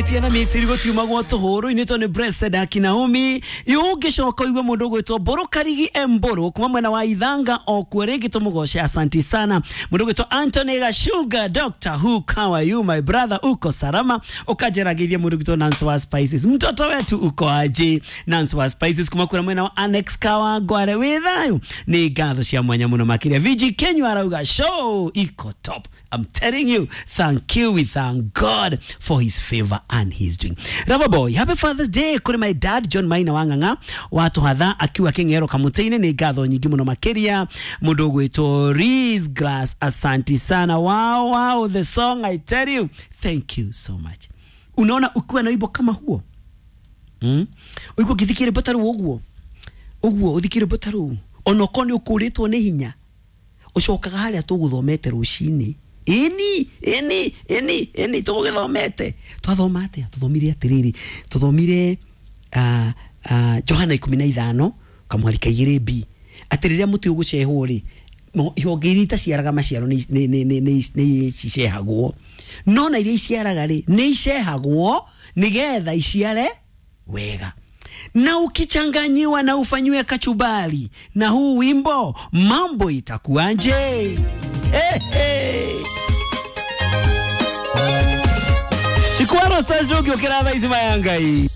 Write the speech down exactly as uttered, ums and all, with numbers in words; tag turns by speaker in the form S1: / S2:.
S1: Tiana Misiri gutiumagwo tuhuru-inĩ to nĩ Blessed Akinaomi. Ũngĩcoka ũigue mũndũ ũgwĩtwo Mbũrũ Karigi Mbũrũ kuma mwena wa Ithanga o kuo rĩngĩ tũmũgoce, asanti sana. Mũndũ ũgwĩtwo Anthony Gashuga, Doctor Who, how are you, my brother? Uko salama? Ũkanjeragĩria mũndũ ũgwĩtwo Nancy wa Spices, mtoto wetu, uko aje? Nancy wa Spices kuma kũrĩa mwena wa Annex Kawangware, wĩ thayũ? Nĩ ngatho cia mwanya mũno makĩria. V G Kenywa arauga show iko top. I'm telling you, thank you. We thank God for his favor and his doing. Rava boy, happy Father's Day kuri my dad John Maina Wang'ang'a watuhatha akiwa King'ero Kamutĩ-inĩ. Nĩ ngatho nyingĩ mũno makĩria. Mũndũ ũgwĩtwo Reese Glass, asanti sana. Wow, wow, the song, I tell you, thank you so much. Unaona ukiwa na wimbo kama huo, mm? Ũigua ũngĩthikia rwĩmbo ta rũu ũguo ũguo, ũthikie rwĩmbo ta rũu, onokorwo nĩ ũkũrĩtwo nĩ hinya, ũcokaga harĩa tũgũthomete rũcinĩ. Ĩni ĩni ĩni ĩni, tũgũgĩthomete, twathoma atĩa? Tũthomire atĩrĩrĩ, tũthomire uh, uh, Johana ikũmi na ithano kamwari ka igĩrĩ b, atĩ rĩrĩa mũtĩ ũgũcehwo rĩ, no- ihonge iria itaciaraga maciaro nĩ nĩ- nĩ- nĩ- nĩ nĩ cicehagwo, no na iria iciaraga rĩ, nĩ icehagwo nĩgetha iciare wega. Na ukichanganyiwa na ufanyiwe kachumbari na huu wimbo, mambo itakuanje? Hey, hey. Ikwaro sajogi okera thaa ici mayangai.